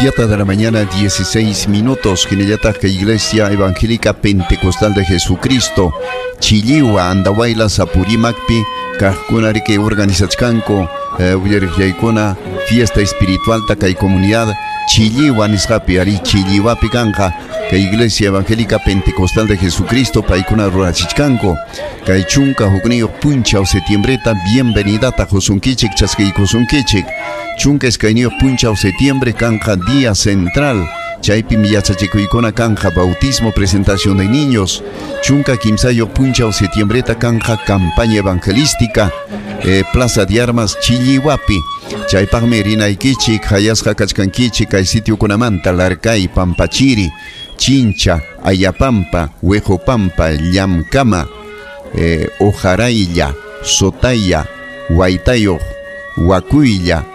7 de la mañana, 16 minutos. Hinallataq Iglesia Evangélica Pentecostal de Jesucristo, Chilliwa, Andahuaylas, Apurímacpi, kaqkuna riki organizachkanku, uyariqllaykuna, fiesta espiritual kay comunidad Chilliwa nisqapi, ari Chilliwapi kanja, kay Iglesia Evangélica Pentecostal de Jesucristo, paykuna rurachichkanku, kay chunka hukniyuq punchaw septiembreta, bienvenidata qusunkichik, chaskiykusunkichik, chunka iskayniyuq punchaw septiembre kanja día central, chaypim yachachikuykuna kanja bautismo, presentación de niños, chunka kimsayuq punchaw septiembreta kanja campaña evangelística, Plaza de Armas Chilliwapi, chaypaqmi rinaykichik, hayasqa kachkankichik kay sitiokunamanta, Larcay, Pampachiri, Chincha, Ayapampa, Huejopampa, Llamkama, Ojaraylla, Sotaya, Huaytayuq, Huacuylla,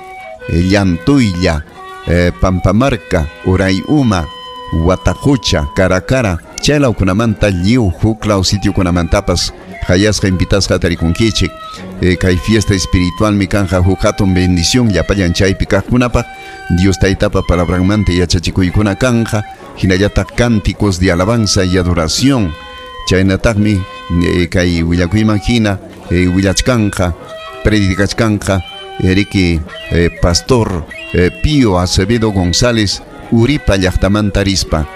Llantuylla, Pampamarca, Urayuma, Huatajucha, Caracara, chaylawkunamanta lliw huklaw sitiokunamantapas hayasqa invitasqa tarikunkichik. Kay fiesta espiritual mi kanja huk hatun bendición llapallan chaypi kaqkunapaq, Dios taytapa palabranmanta yachachikuykuna kanja, hinallataq cánticos de alabanza y adoración, chaynataqmi kay willakuyman hina willachkanja, predicachkanja riki pastor Pío Acevedo González Uripa llaqtamanta rispa,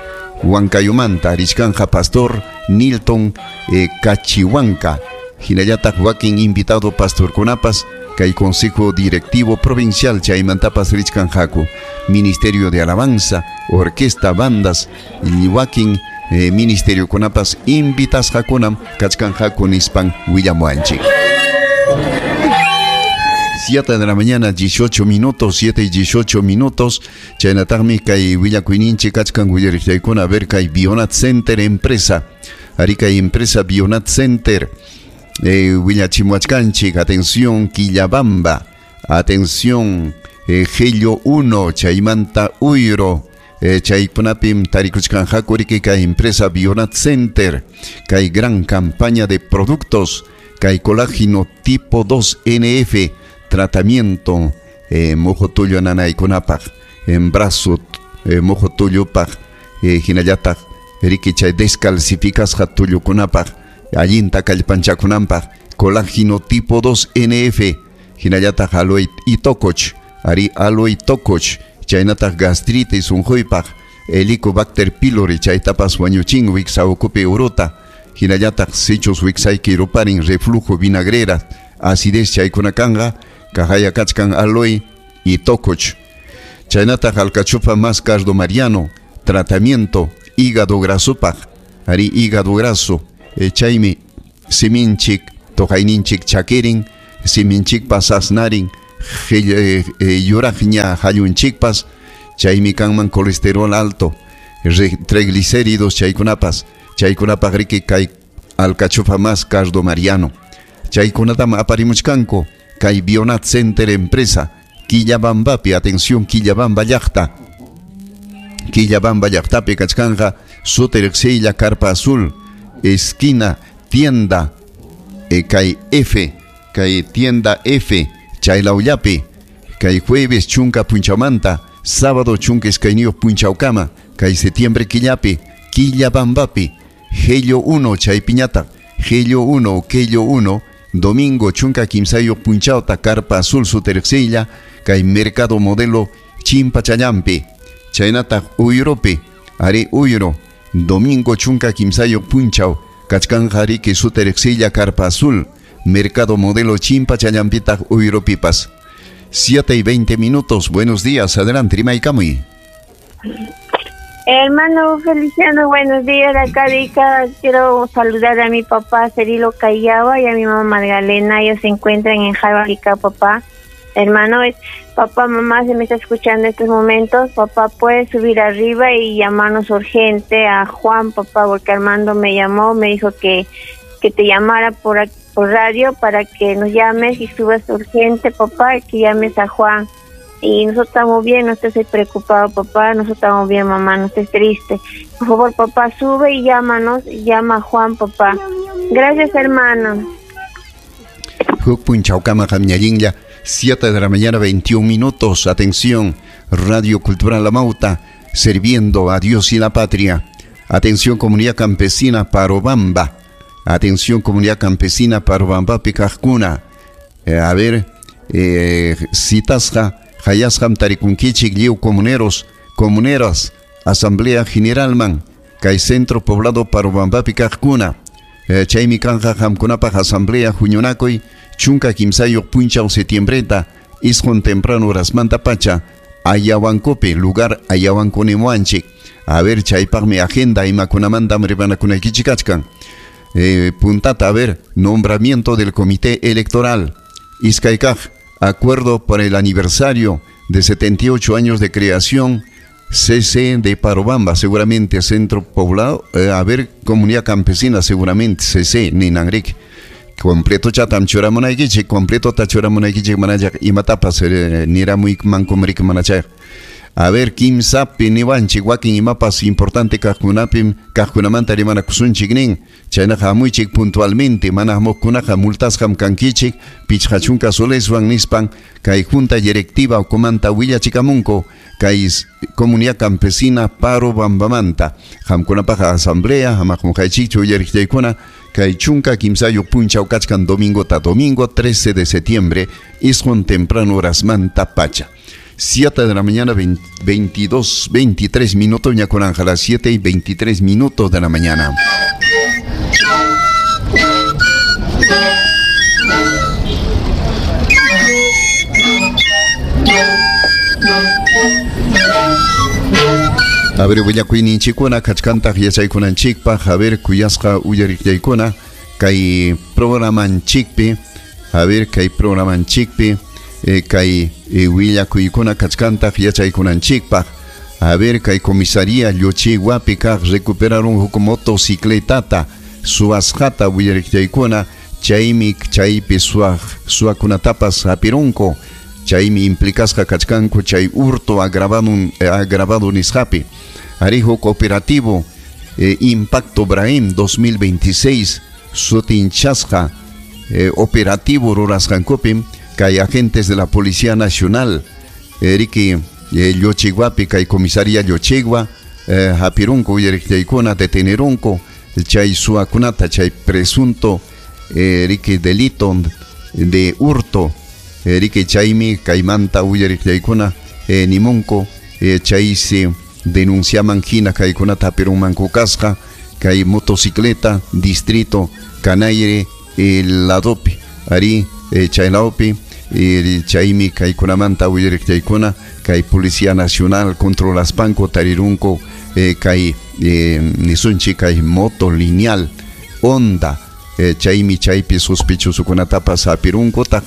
Huancayomanta richkanja pastor Nilton Cachihuanca, hinallataq wakin invitado pastorkunapas kay consejo directivo provincial chaymantapas richkanjaku, ministerio de alabanza, orquesta, bandas, wakin ministeriokunapas invitasqakunam kachkanjaku nispan willamuanchik. 7 de la mañana, 18 minutos, 7 y 18 minutos. Chaynataqmi kay willakuyninchik kachkan willariqllaykuna, a ver kay Bionat Center empresa. Ari kay empresa Bionat Center. Willachimuachkanchik, atención Quillabamba, atención Gello 1, chaymanta Uyro, chaykunapim tarikuchkanjaku riki kay empresa Bionat Center, kay gran campaña de productos, kay colágeno tipo 2 NF, tratamiento mojo tullu nanaykunapaq, en brazo mojo tullupaq, hinallataq riki chay descalcificasqa tullukunapaq, allinta kallpanchakunanpaq, colágeno tipo 2 NF, hinallataq aloe itokoch, ari aloe tokoch, chaynataq gastritis unquypaq, Helicobacter pylori chaytapas wañuchin wiksa ukupi uruta, hinallataq sichus wiksayki ruparin reflujo vinagrera, acidez chaykuna kanja, kahaya kachkan aloe y tokoch. Chaynataq alcachofa más cardo mariano, tratamiento hígado grasopaq, ari hígado graso, chaymi siminchik toqayninchik chakirin, siminchikpas asnarin, yuraqña hallunchikpas, chaymi kanman colesterol alto, triglicéridos chaykunapas, chaykunapaq riki kay alcachofa más cardo mariano. Chaykunatam aparimuchkanku kay Bionat Center empresa, Quillabambapi, atención Quillabamba llaqta. Quillabamba llaqtapi kachkanja Suterxilla Carpa Azul, esquina tienda kay F, kay tienda F, chaylawllapi, kay jueves chunka punchawmanta, sábado chunka iskayniyuq punchawkama, kay septiembre killapi, Quillabambapi, Gello 1 chaypiñataq, Gello 1, Kello 1, domingo chunka kimsayuq punchawta, Carpa Azul Suterxilla, kay Mercado Modelo Chimpachallampi, chaynataq Uyropi, ari Uyro, domingo chunka kimsayuq punchaw, kachkanja riki Suterxilla Carpa Azul, Mercado Modelo Chimpachallampitaq Uyropipas. 7 y 20 minutos, buenos días, adelante, rimaykamuy. Hermano Feliciano, buenos días, acá de Ica. Quiero saludar a mi papá Cerilo Callaba y a mi mamá Magdalena. Ellos se encuentran en Jaiba, papá. Hermano, papá, mamá, se me está escuchando en estos momentos. Papá, puede subir arriba y llamarnos urgente a Juan, papá, porque Armando me llamó, me dijo que te llamara por radio para que nos llames y subas urgente, papá, y que llames a Juan. Y nosotros estamos bien, no estés preocupado, papá, nosotros estamos bien, mamá, no estés triste. Por favor, papá, sube y llámanos, llama a Juan, papá. Gracias, hermano. Huk punchawkama qamñallinlla, 7 de la mañana, 21 minutos. Atención, Radio Cultural Amauta, sirviendo a Dios y la patria. Atención, comunidad campesina Parobamba. Atención, comunidad campesina Parobamba Picajcuna. A ver, citasqa hayasqam tarikunkichik lliw comuneros, comuneras, Asamblea Generalman, kay centro poblado Parobambapi kaqkuna. Chaymi kanja qamkunapaq asamblea huñunakuy 13 punchaw septiembreta isqun temprano horasmanta pacha Ayahuancopi, lugar Ayahuanconimuanchik. A ver, chaypaqmi agenda imakunamantam rimanakunaykichik kachkan. Puntata, a ver, nombramiento del comité electoral. Iskaykaq, acuerdo para el aniversario de 78 años de creación CC de Parobamba, seguramente centro poblado, a ver, comunidad campesina, seguramente CC, Ninangrik. Completo chatam churamunaykichik, completo ta churamunaykichik manachaq imatapas niramuy mankumrik manachaq. A ver, kimsapi niwanchik wakin imapas importante kaqkunapim kaqkunamanta rimanakusunchik nin. Chaynaqa hamuychik puntualmente, mana hamuqkunaqa multasqam kankichik, 50 soleswan nispan kay junta directiva ukumanta willachikamunku kay comunidad campesina Parobambamanta. Qamkunapaq asamblea hamaqmunqaychikchu uyariqchaykuna kay 13 punchaw kachkan domingota, domingo 13 de septiembre, isqun temprano horasmanta pacha. 7 de la mañana, 22, 23 minutos, ñakunanja, las 7:23 de la mañana. A ver, willakuyninchikkuna kachkantaq yachaykunanchikpaq, a ver, kuyasqa uyariqllaykuna kay programanchikpi, a ver, kay programanchikpi, kay willakuykuna kachkantaq yachaykunanchikpaq. A ver, kay comisaría Lluchiguapi kaq recuperaron huk motocicletata suwasqata uyariqllaykuna, chaymi chaypi suwakunatapas hapirunku, chaymi implicasqa kachkanku chay hurto agravado nisqapi. Arijo cooperativo Impacto Brahim 2026 sutinchasqa operativo rurasqankupim kay agentes de la Policía Nacional riki Lluchiguapi kay comisaría Lluchigua hapirunku uyariqllaykuna detenerunku chay suwakunata chay presunto riki delito de hurto riki chaymi kaymanta uyariqllaykuna nimunku chaysi denunciaman hina kaykunata hapirunmanku kasqa kay motocicleta distrito Canaire ladopi ari chaylawpi chaymi kaykunamanta uyariqllaykuna kay Policía Nacional controlaspanku tarirunku kay nisunchik kay moto lineal Honda chaymi chaypi sospechosokunatapas hapirunkutaq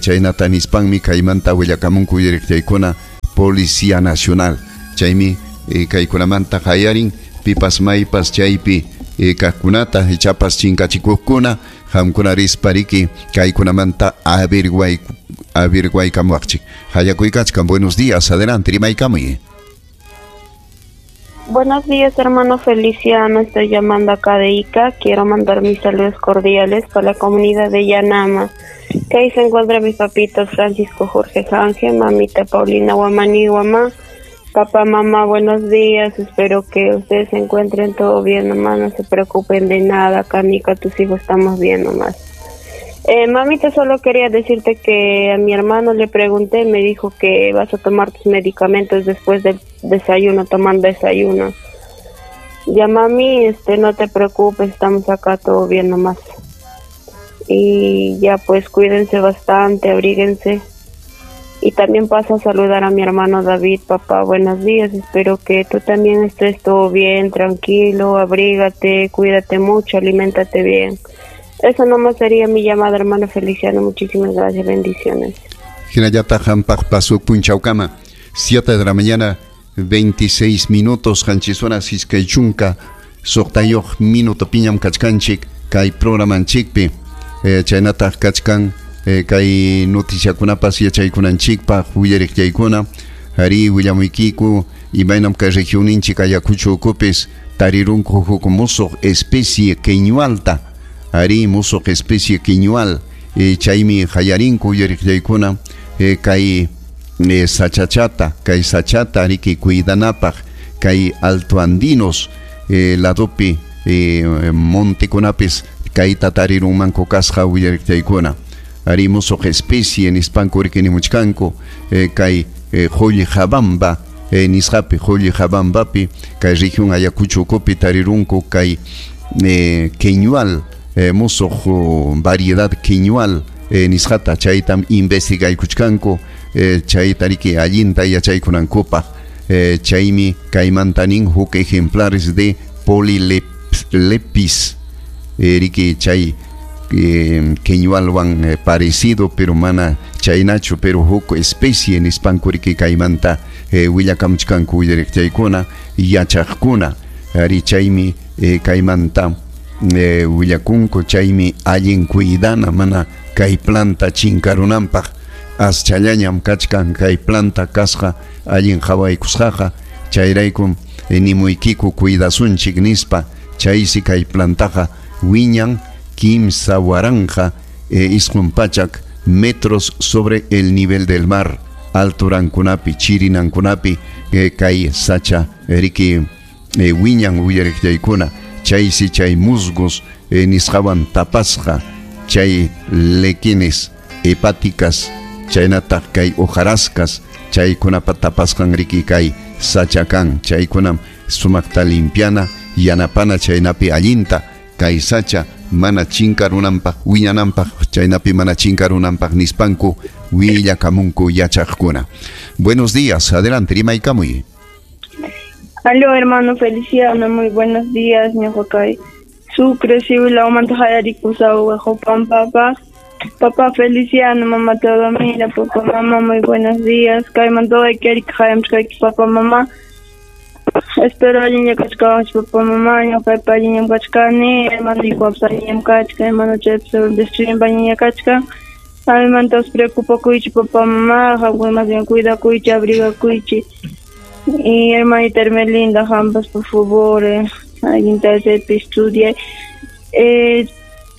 chaynata nispanmi kaymanta willakamunku uyariqllaykuna Policía Nacional chaymi kaykunamanta hayarin pipas maypas chaypi kaqkunata ichapas chinkachikuqkuna qamkuna rispa riki kaykunamanta averiguaykamuwaqchik. Hayakuykachkan, buenos días, adelante, rimaykamuy. Buenos días, hermano Feliciano, estoy llamando acá de Ica, quiero mandar mis saludos cordiales para la comunidad de Yanama, que ahí se encuentran mis papitos Francisco Jorge Ángel, mamita Paulina Guamani Guamá. Papá, mamá, buenos días, espero que ustedes se encuentren todo bien nomás, no se preocupen de nada, acá Nica, tus hijos estamos bien nomás. Mamita, solo quería decirte que a mi hermano le pregunté, me dijo que vas a tomar tus medicamentos después del desayuno, tomando desayuno. Ya mami, no te preocupes, estamos acá todo bien nomás. Y ya pues cuídense bastante, abríguense. Y también paso a saludar a mi hermano David, papá, buenos días, espero que tú también estés todo bien, tranquilo, abrígate, cuídate mucho, aliméntate bien. Eso nomás sería mi llamada, hermano Feliciano, muchísimas gracias, bendiciones. Hinallataq qampaq pasuk punchawkama, 7 de la mañana, 26 minutos, qanchis horas 26 minuto piñam kachkanchik, kay programanchikpi, chaynataq kachkan, kay noticiakunapas yachaykunanchikpaq willariqllaykuna, ari willamuykiku imaynam kay regionninchik Ayacucho ukupis tarirunku huk musuq especie queñualta, ari musuq especie queñual, chaymi hayarinku willariqllaykuna, kay Sachachata, kay sachata riki cuidanapaq kay altoandinos ladopi montekunapis kayta tarirunmanku kasqa willariqchaykuna. Ari musuq especie nispanku riki nimuchkanku kay Qullqabamba nisqapi, Qullqabambapi kay región Ayacucho ukupi tarirunku kay queñual, musuq variedad queñual nisqata, chaytam investigaykuchkanku chayta riki allinta yachaykunankupaq. Chaymi kaymanta nin huk ejemplares de Polylepis riki chay queñualwan parecido, pero mana chaynachu, pero huk especie nispanku riki kaymanta willakamuchkanku willariqchaykuna yachaqkuna. Ari chaymi kaymanta willakunku, chaymi allin cuidana mana kay planta chinkarunanpaq. Aschallañam kachkan kay planta kasqa allin qhawaykusqaqa, chayraykum nimuykiku cuidasunchik nispa. Chaysi kay plantaqa wiñan 3 900 metros sobre el nivel del mar, alturankunapi, chirinankunapi kay sacha riki wiñan willariqchaykuna. Chaysi chay musgos nisqawan tapasqa chay lequines hepáticas chaynataq kay hojarascas chaykunapa tapasqan riki kay sacha kan, chaykunam sumaqta limpiana yanapana chaynapi allinta kay sacha mana chinkarunanpaq wiñananpaq, chaynapi mana chinkarunanpaq nispanku willakamunku yachaqkuna. Buenos días, adelante, rimaykamuy. Aló, hermano Feliciano, muy buenos días, ñuqakay Sucre, Siula, Huamantajayarikusau, Jopan, papá. Papá Feliciano, mamá Teodomira, papá, mamá, muy buenos días. Kaymantoy, Kerik, Hayamchkayki, papá, mamá. Espero alliña kachkawanchik, papá, mamá, ñuqaypa alliñam kachkani, hermano ikuapas alliñam kachkan, hermano chaypas destruyen alliña kachkan. Amimantapas preocupakuychik, papá, mamá, qamkuna más bien cuidakuychik, abrigakuychik. Y hermanita Hermelinda, qampas, por favor, allinta chaypi estudiay.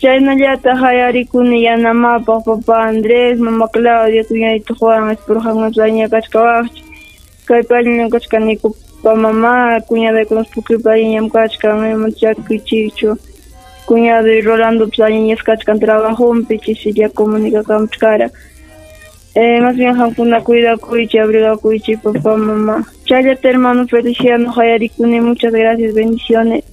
Chaynallataq hayarikuni yanamapaq papá Andrés, mamá Claudia, cuñadito Juan, espero qamkunapas alliña kachkawaqchik. Kaypi alliñam kachkaniku, papá, mamá, cuñadaykunapas pukripi alliñam kachkan, maymantas llakikuychikchu. Cuñado y Rolando pues alliñas kachkan trabajunpi, chisilla comunicakamuchkara. Más bien qamkuna cuidakuychik, abrigakuychik, papá, mamá. Chayllata hermano Feliciano, hayarikuni, muchas gracias, bendiciones.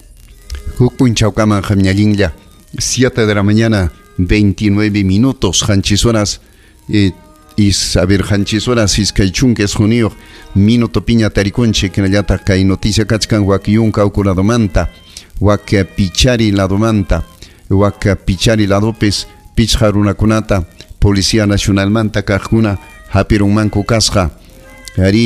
Huk punchawkaman qamñallinlla, 7 de la mañana, 29 minutos, qanchis horas, y saber qanchis horas, iskay chunka isquniyuq minuto piña tarikunchik, hinallataq kay noticia kachkan wak yunka uku ladomanta, wak pichari ladomanta, wak pichari ladopis pichqa runakunata Policía Nacionalmanta kaqkuna hapirunmanku kasqa. Ari